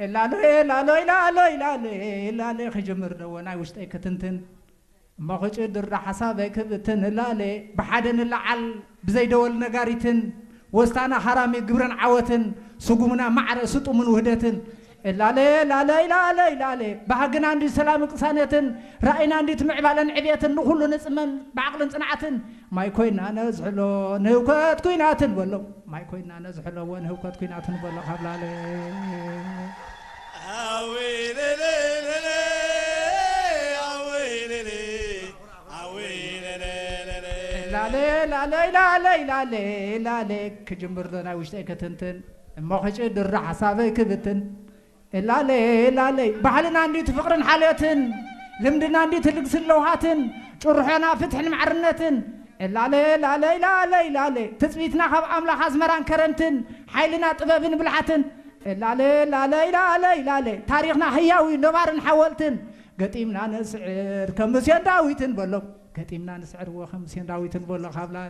እላለ እላለ እላለ እላለ እላለ ክጅምር ደወ ናይ ውሽጠይ ክትንትን እሞ ክጭድር ሓሳበይ ክብትን እላለ ብሓደ ንለዓል ብዘይደወል ነጋሪትን ወስታና ሃራሚ ግብርን ዓወትን ስጉምና ማዕረ ስጡምን ውህደትን እላለ እላለ እላለ እላለ ባህግና እንዲ ሰላም ቅሳነትን ራእይና እንዲ ትምዕባለን ዕብየትን ንኹሉ ንጽመን ብዓቕልን ጽንዓትን ማይ ኮይና ነዝሕሎ ንህውከት ኩናትን በሎ ማይ ኮይና ነዝሕሎ ወንህውከት ኩናትን በሎ ካብ ላለ ላለ ላለ ላለ ላለ ላለ ክጅምር ዶ ናይ ውሽጠይ ክትንትን እሞ ክጭድር ሓሳበይ ክብትን እላለ እላለ ባህልና እንዲት ፍቕርን ሓልዮትን ልምድና እንዲት ልግስን ለውሃትን ጭርሖና ፍትሕን ማዕርነትን እላለ እላለ እላለ እላለ ትጽቢትና ካብ ኣምላኽ ኣዝመራን ከረምትን ሓይልና ጥበብን ብልሓትን እላለ እላለ እላለ እላለ ታሪኽና ህያዊ ነባርን ሓወልትን ገጢምና ንስዕር ከም ሙሴን ዳዊትን በሎም ገጢምና ንስዕር እዎ ከም ሙሴን ዳዊትን በሎ ካብ ላለ